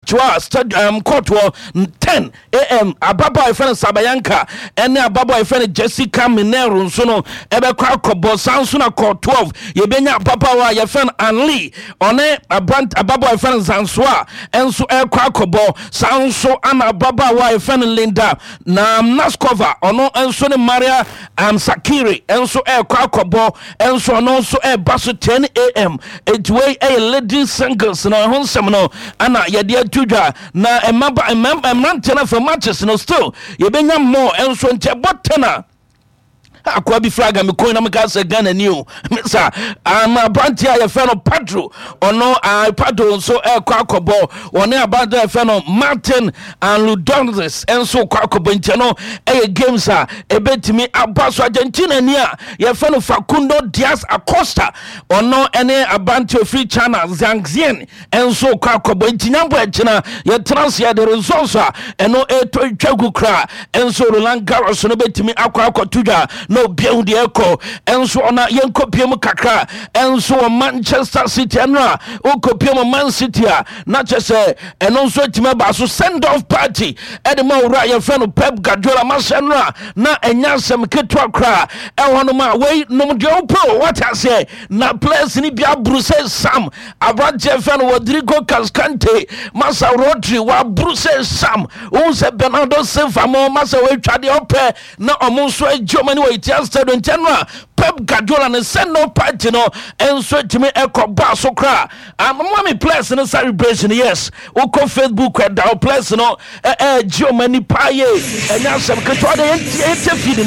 Joa stadium court wɔ 10 a.m. Ababaawa yɛfrɛ no Sabayanka ɛne ababaawa yɛfrɛ no Jessica Minero nso no ɛbɛkɔ akɔbɔ. Saa nso na court 12 yɛbɛnya ababaawa a yɛfrɛ no Anli, ɔne ababaawa yɛfrɛ no Zansoa ɛnso ɛkɔ akɔbɔ. Saa nso ana ababaawa a yɛfrɛ no Linda na Naskova, ɔno nso ne Maria Sakiri nso ɛrekɔ akɔbɔ nso, ɔno nso ɛreba so 10 a.m. Eti wei ɛyɛ ladies singles na ɛho nsɛm no ana yɛde ato dwa. Na mmaba mmeranteɛ no afɛ matches no still yɛbɛnya more nso, nti ɛbɔ 10 a, akoa bi flag a mekɔn na meka sɛ Ghana ni o sa ama aberanteɛ a yɛfrɛ no Pedro, ɔno Pedro nso ɛkɔ akɔbɔ, ɔne aberanteɛ a yɛfrɛ no Martin and Ludonzes nso kɔ akɔbɔ. Nkyɛn no ɛyɛ games a ɛbɛtumi aba so. Argentina ni a yɛfrɛ no Facundo Diaz Acosta, ɔno ɛne aberanteɛ ofiri China Zhang Xian nso kɔ akɔbɔ. Nti nyambɔ ɛkyina yɛtena ase yɛde results a ɛno ɛtɔ twa gu koraa nso, Roland Garros no bɛtumi akɔ akɔto dwa na obia hu deɛ ɛkɔ nso. Ɔna yɛnkɔpie mu kakra nso wɔ Manchester City. Ɛno a wokɔpie mu Man City a, na kyɛ sɛ ɛno nso atumi aba so, send off party ɛde ma owura yɛfrɛ no Pep Guardiola. Mahyɛ no a na ɛnyɛ asɛm ketewa koraa ɛwɔ nom a wei nom deɛ wopɛ o, wate aseɛ, na players ni bi aburu sɛ sam. Aberanteɛ fɛ no Rodrigo Cascante, masa Rodri waburu sɛ sam. Wohu sɛ Bernardo Silva mo, masa wɔatwa deɛ ɔpɛ na ɔmo nso agye ɔmo ani wɔ Etihad Stadium. Nkyɛn no a Pep Guardiola ne send off party no nso atumi ɛkɔ baa so koraa. Amama players no celebration, yes, wokɔ Facebook ɛda wo players no ɛgye ɔmo ani paa yie, ɛnyɛ asɛm ketewa de yɛntie feed.